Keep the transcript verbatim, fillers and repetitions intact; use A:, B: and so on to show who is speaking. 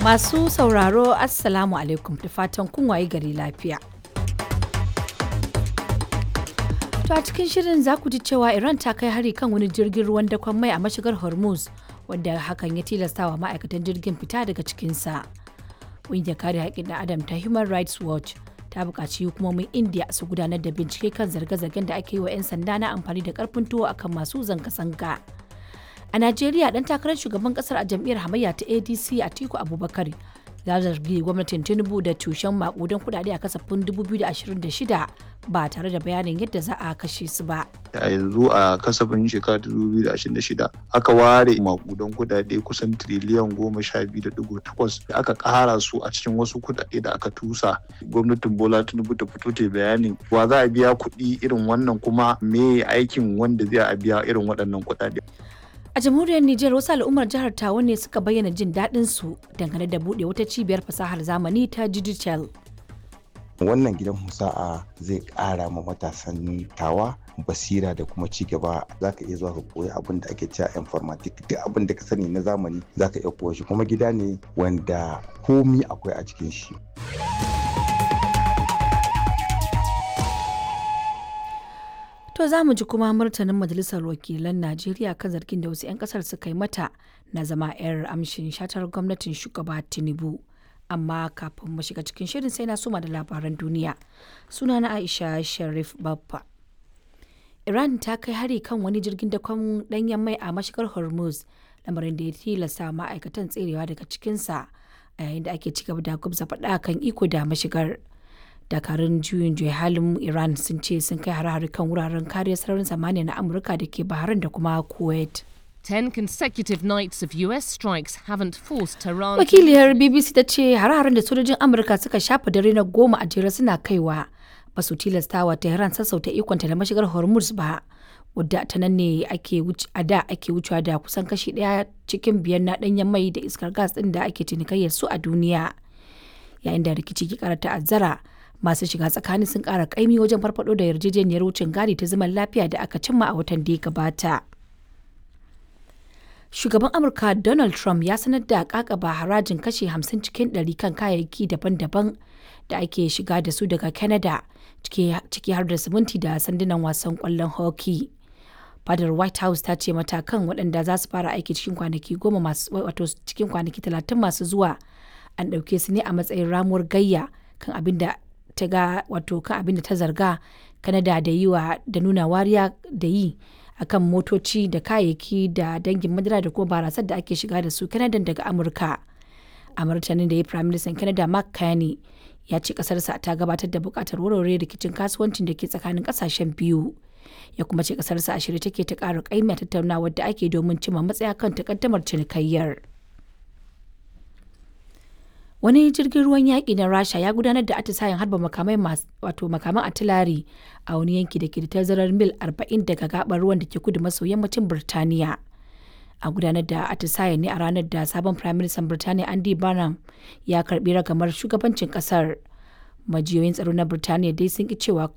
A: Masu sauraro, Assalamu alaikum, da fatan kun waye gari lafiya. To a cikin shirin za ku ji cewa Iran ta kai hari kan wani jirgin ruwan dakon mai a mashigar Hormuz, wanda hakan ya tilastawa ma'aikatan jirgin fita daga cikinsa. Ƙungiyar kare haƙƙin ɗan Adam ta Human Rights Watch ta buƙaci hukumomin India su gudanar da bincike kan zarge-zargen da ake yi wa 'yan sanda na amfani da ƙarfin tuwo akan masu zanga-zanga. A Najeriya, ɗan takarar shugaban ƙasar a jam'iyyar hamayya ta A D C, Atiku Abubakar, ya zargi gwamnatin Tinubu da cushen maƙudan kuɗaɗe a kasafin dubu biyu da ashirin da shida ba tare da bayanin yadda za a kashe su ba.
B: A yanzu a kasafin shekara dubu biyu da ashirin da shida aka ware makudan kudade kusan triliyan goma sha biyu da digo takwas da aka kara su a cikin wasu kudade da aka tusa. Gwamnatin Bola Tinubu ta fito ta bayanin wa za a biya kuɗi irin wannan, kuma me aikin wanda zai a biya irin waɗannan kudade.
A: A jamhuriyar Nijar, wasu al'ummar jihar Tawa ne suka bayyana jin daɗin su dangane da buɗe wata cibiyar fasahar zamani ta digital.
C: Wannan gidan husa'a zai ƙara ma matasan Tawa basira da kuma ci gaba. Za ka iya zuwa ka koyi abin da ake cewa informatic, duk abin da ka sani na zamani za ka iya koya shi, kuma gida ne wanda komi akwai a cikin shi.
A: To za mu ji kuma martanin Majalisar Wakilan Najeriya kan zargin da wasu 'yan kasar suka yi mata na zama 'yar amshin shatar gwamnatin shugaba Tinubu. Amma kafin mu shiga cikin shirin, sai na soma da labaran duniya. Suna na Aisha Sharif Babba. Iran ta kai hari kan wani jirgin dakon danyen mai a mashigar Hormuz, lamarin da ya tilasta ma'aikatan tserewa daga cikinsa a yayin da ake cigaba da gwabza faɗa kan iko da mashigar. Dakarun juyin juya halin Iran sun ce sun kai hare-hare kan wuraren kariyar sararin samaniya na Amurka da ke Bahrain da kuma Kuwait.
D: Ten consecutive nights of U S strikes haven't forced Tehran.
A: Wakiliyar B B C ta ce hare-haren da sojojin Amurka suka shafa dare na goma a jere suna kaiwa ba su tilastawa Tehran sassauta ikonta da mashigar Hormuz ba, wadda ta nan ne ake a da ake wucewa da kusan kashi daya cikin biyar na danyen mai da iskar gas din da ake cinikayyar su a duniya. Yayin da rikici ke kara ta'azzara, masu shiga tsakani sun kara kaimi wajen farfado da yarjejeniyar wucin gadi ta zaman lafiya da aka cimma a watan da ya gabata. Shugaban Amurka Donald Trump ya sanar da kakaba harajin kashe hamsin cikin ɗari kan kayayyaki daban-daban da ake shiga da su daga Canada, ciki har da siminti da sandunan wasan kwallon hockey. Fadar White House ta ce matakan, waɗanda za su fara aiki cikin kwanaki goma masu, wato cikin kwanaki talatin masu zuwa, an ɗauke su ne a matsayin ramuwar gayya kan abin da ta ga, wato kan abin da ta zarga Kanada da yi wa da nuna wariya da yi akan motoci da kayayyaki da dangin madara da kuma barasar da ake shiga da su Canada daga Amurka. A martanin da ya, Prime Minister Canada Mark Carney ya ce kasarsa ta gabatar da bukatar warware rikicin kasuwancin da ke tsakanin kasashen biyu. Ya kuma ce kasarsa a shirye take ta ƙara ƙaimi a tattaunawar da ake domin cimma matsaya kan takaddamar cinikayyar. Wani jirgin ruwan yaƙi na Rasha ya gudanar da atisayen harba makamai, wato makaman atilari, a wani yanki da ke da tazarar mil arba'in daga gabar ruwan da ke kudu maso yammacin Birtaniya. A gudanar da atisayen ne a ranar da sabon Prime Minister Birtaniya Andy Burnham ya karbi ragamar shugabancin kasar. Majiyoyin tsaro na Birtaniya dai sun ki cewa